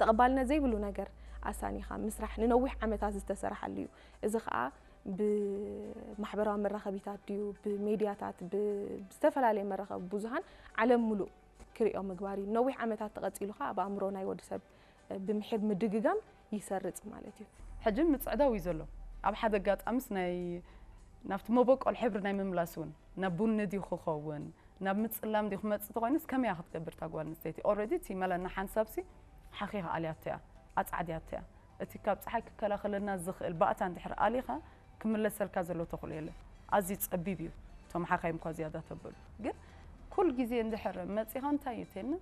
ተቐባልነት ዘይብሉ ነገር ኣሳኒኻ ምስራሕ ንነዊሕ ዓመታት ዝተሰራሓሉ እዩ። እዚ ኸኣ ብማሕበራዊ መራኸቢታት ድዩ፣ ብሜድያታት፣ ብ-፣ ብዝተፈላለየ መራኸቢ ብዙሃን ዓለም ምሉእ ክርእዮ ምግባር እዩ። ነዊሕ ዓመታት ተቐጺሉ ኸኣ ኣብ ኣእምሮ ናይ ወዲ ሰብ ብምሒር ምድግጋም ይሰርጽ ማለት እዩ። ሕጂ ምጽዕዳው እዩ ዘሎ። ኣብ ሓደ ኣጋጣሚስ ናይ ናብቲ መበቆል ሕብሪ ናይ ምምላስ እውን ናብ ቡኒ ድዩ ክኸውን፣ ናብ ምጽላም ድዩ ክመጽእ ተኾይኑስ ከመይ እያ ክትገብር እታ ጓል ኣንስተይቲ? ኦልሬዲ እቲ መለና ሓንሳብሲ ሓኺኻ ኣልያቶ እያ፣ ኣጻዕድያቶ እያ። እቲ ካብ ጸሓይ ክከላኸለልና ዝኽእል ባእታ እንድሕር ኣሊኻ ክምለሰልካ ዘሎ ተኽእሎ የለን። ኣዝዩ ጸቢብ እዩ። እቶም ሓኻይም እኳ ዝያዳ ተበሉ። ግን ኩል ግዜ እንድሕር መጺኻ እንታይ እዩ ተልና?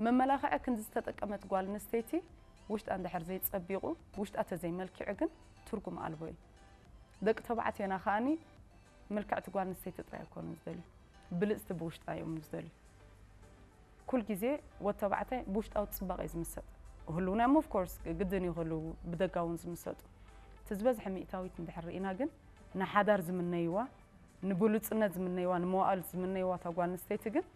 መመላኽዒ ክንዲ ዝተጠቀመት ጓል ኣንስተይቲ ውሽጣ እንድሕር ዘይጸቢቑ፣ ውሽጣ ተዘይመልኪዑ ግን ትርጉም ኣልቦ እዩ። ደቂ ተባዕትዮና ከኣኒ ምልክዕቲ ጓል ኣንስተይቲ ጥራይ ኣይኮኑን ዝደልዩ። ብልጽቲ ብውሽጣ እዮም ዝደልዩ። ኩል ግዜ ወዲ ተባዕታይ ብውሽጣዊ ጽባቐ እዩ ዝምሰጥ። ህልውና እዮም ኦፍ ኮርስ ግድን እዩ ክህልው ብደጋውን ዝምሰጡ። እቲ ዝበዝሐ ሚእታዊት እንድሕር ርኢና ግን ንሓዳር ዝምነይዋ፣ ንብሉጽነት ዝምነይዋ፣ ንመዋእል ዝምነይዋ እታ ጓል ኣንስተይቲ ግን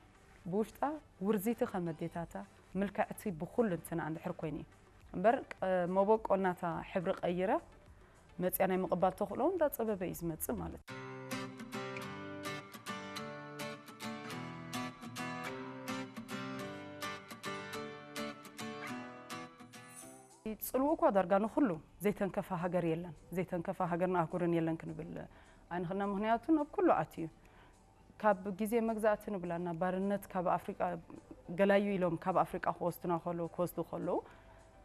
ብውሽጣ ውርዚቲ ከም ኣዴታታ ምልክዕቲ ብኹሉ እንትና እንድሕር ኮይኑ እዩ። እምበር ቀ-፣ መበቆልናታ ሕብሪ ቀይራ መጽያ ናይ ምቕባል ተኽእሎ እንዳጸበበ እዩ ዝመጽእ ማለት እዩ። ጽልኡ እኳ ዳርጋ ንኹሉ ዘይተንከፈ ሃገር የለን፣ ዘይተንከፈ ሃገርን ኣህጉርን የለን ክንብል ኣይንኽእልና። ምኽንያቱ ናብ ኩሉ ኣትዩ እዩ። ካብ ግዜ መግዛእቲ ንብላ ናብ ባርነት ካብ ኣፍሪቃ ገላዩ ኢሎም ካብ ኣፍሪቃ ክወስዱና ከለዉ፣ ክወስዱ ከለዉ፣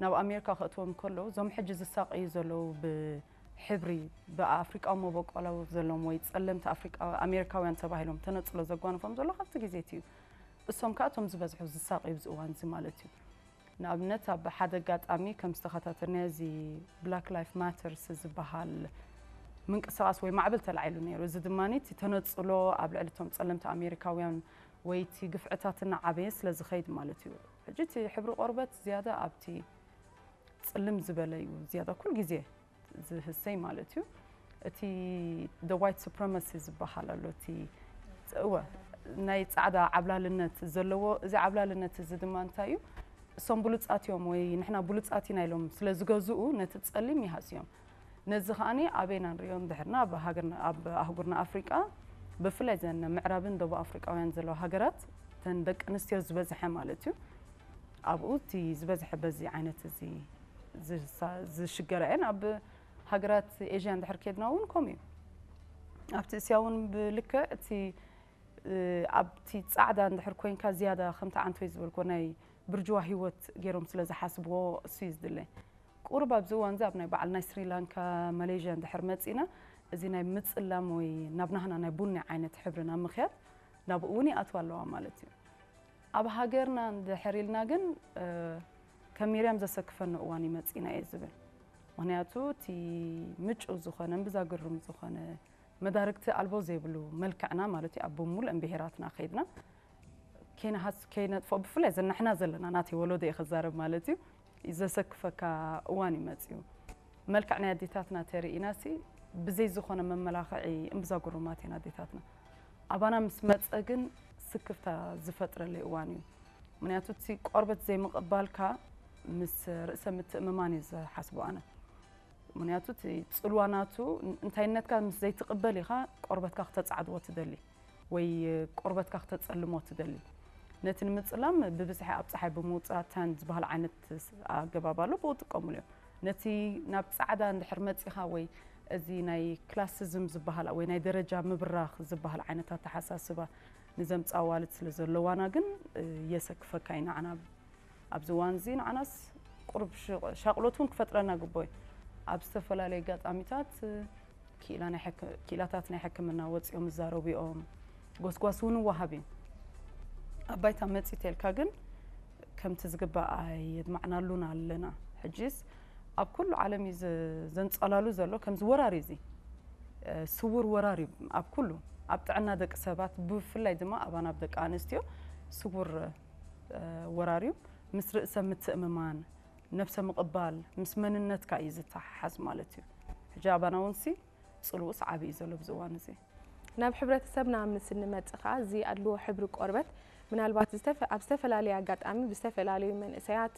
ናብ ኣሜሪካ ከእትዎም ከለዉ፣ እዞም ሕጂ ዝሳቀዩ ዘለዉ ብሕብሪ፣ ብኣፍሪቃዊ መበቆላዊ ዘለዎም ወይ ጸለምቲ ኣፍሪቃ-፣ ኣሜሪካውያን ተባሂሎም ተነጽሎ ዘጓንፎም ዘሎ ካብቲ ግዜ እቲ እዩ። እሶም ከኣ እቶም ዝበዝሑ ዝሳቀዩ ኣብዚ እዋን እዚ ማለት እዩ። ንኣብነት ኣብ ሓደ ኣጋጣሚ ከም ዝተኸታተልናዮ እዚ ብላክ ላይፍ ማተርስ ዝበሃል ምንቅስቃስ ወይ ማዕበል ተላዒሉ ነይሩ። እዚ ድማ እቲ ተነጽሎ ኣብ ልዕሊ እቶም ጸለምቲ ኣሜሪካውያን ወይ እቲ ግፍዕታት እናዓበየ ስለ ዝኸይድ ማለት እዩ። ሕጂ እቲ ሕብሪ ቆርበት ዝያዳ ኣብቲ ጽልም ዝበለ እዩ ዝያዳ ኩል ግዜ ዝህሰይ ማለት እዩ። እቲ the white supremacy ዝበሃል ኣሎ፣ እቲ እወ ናይ ጻዕዳ ዓብላልነት ዘለዎ፣ እዚ ዓብላልነት እዚ ድማ እንታይ እዩ? እሶም ብሉጻት እዮም ወይ ንሕና ብሉጻት ኢና ኢሎም ስለ ዝገዝኡ ነቲ ጸሊም ይሃስዮም። ነዚ ከኣኒ ኣበይና ንሪኦ እንድሕርና ኣብ ሃገርና፣ ኣብ ኣህጉርና ኣፍሪቃ ብፍላይ ዘን ምዕራብን ደቡብ ኣፍሪቃውያን ዘለዋ ሃገራት እተን ደቂ ኣንስትዮ ዝበዝሐ ማለት እዩ። ኣብኡ እቲ ዝበዝሐ በዚ ዓይነት እዚ ዝሳ-፣ ዝሽገራ እየን። ኣብ ሃገራት ኤዥያ እንድሕር ኬድና እውን ከምኡ እዩ። ኣብቲ እስያ እውን ብልክዕ እቲ፣ እ፣ ኣብቲ ጻዕዳ እንድሕር ኮይንካ ዝያዳ ከምቲ ዓንቶይ ዝበልኮ ናይ ብርጅዋ ህይወት ገይሮም ስለ ዝሓስብዎ እሱ እዩ ዝድለ። ቁሩብ ኣብዚ እዋን እዚ ኣብ ናይ በዓል ናይ ስሪላንካ፣ ማሌዥያ እንድሕር መጺና፣ እዚ ናይ ምጽላም ወይ ናብ ናህና ናይ ቡኒ ዓይነት ሕብሪ ናብ ምኽያድ ናብኡ እውን ይኣትዋ ኣለዋ ማለት እዩ። ኣብ ሃገርና እንድሕር ኢልና ግን፣ እ፣ ከም ሚርያም ዘሰክፈኒ እዋን እዩ መጺና እየ ዝብል። ምኽንያቱ እቲ ምጩው ዝኾነ፣ እምብዛ ግርም ዝኾነ፣ መዳርግቲ ኣልቦ ዘይብሉ መልክዕና ማለት እዩ፣ ኣብ ብምሉእን ብሄራትና ከይድና ከይነሃስ-፣ ከይነጥፍኦ፣ ብፍላይ ዘን ንሕና ዘለና፣ ናተይ ወለዶ እየ ክዛረብ ማለት እዩ፣ ዘሰክፈካ እዋን እዩ መጺኡ። መልክዕ ናይ ኣዴታትና ተርኢናሲ ብዘይ ዝኾነ መመላኽዒ እምብዛ ግሩማት እየን ኣዴታትና። ኣባና ምስ መጸ ግን ስክፍታ ዝፈጥረለይ እዋን እዩ። ምኽንያቱ እቲ ቆርበት ዘይምቕባልካ ምስ ርእሰ ምትእምማን እዩ ዝሓስቦ ኣነ። ምኽንያቱ እቲ ጽልዋ ናቱ ን-፣ እንታይነትካ ምስ ዘይትቕበል ኢኻ ቆርበትካ ክተጻዕድዎ ትደሊ ወይ ቆርበትካ ክተጸልሞ ትደሊ። ነቲ ንምጽላም ብብዝሒ ኣብ ጸሓይ ብምውጻእ ታን ዝበሃል ዓይነት ስ-፣ ኣገባብ ኣሎ፣ ብኡ ጥቀሙሉ እዮም። ነቲ ናብ ጻዕዳ እንድሕር መጺኻ ወይ እዚ ናይ ክላሲዝም ዝበሃል ወይ ናይ ደረጃ ምብራኽ ዝበሃል ዓይነት ኣተሓሳስባ ንዘምጻ ኣዋልድ ስለ ዘለዋና ግን፣ እ፣ የሰክፈካ እዩ ንዓና። ኣብዚ እዋን እዚ ንዓናስ ቁሩብ ሽ-፣ ሻቕሎት እውን ክፈጥረና ግቦ እዩ። ኣብ ዝተፈላለዩ ኣጋጣሚታት ክኢላ ናይ ሕክ-፣ ክኢላታት ናይ ሕክምና ወጺኦም ይዛረቡ እዮም። ጎስጓስ እውን ይወሃብ እዩ። ኣብ ባይታ መጺእ ተልካ ግን ከምቲ ዝግባእ ኣየድማዕናሉን ኣለና። ሕጂስ ኣብ ኩሉ ዓለም እዩ ዝ-፣ ዘንጸላሉ ዘሎ ከምዚ ወራሪ እዚ፣ እ፣ ስዉር ወራሪ እዩ ኣብ ኩሉ፣ ኣብ ጥዕና ደቂ ሰባት ብፍላይ ድማ ኣባና ኣብ ደቂ ኣንስትዮ ስዉር፣ እ፣ ወራሪ እዩ። ምስ ርእሰ ምትእምማን፣ ነብሰ ምቕባል፣ ምስ መንነትካ እዩ ዝተሓሓዝ ማለት እዩ። ሕጂ ኣባና እውን ሲ ጽልኡስ ዓቢ እዩ ዘሎ ኣብዚ እዋን እዚ። ናብ ሕብረተሰብና ምስ እንመጽእ ከኣ እዚ ኣድልዎ ሕብሪ ቆርበት ምናልባት ዝተፈ-፣ ኣብ ዝተፈላለየ ኣጋጣሚ ብዝተፈላለዩ መንእሰያት፣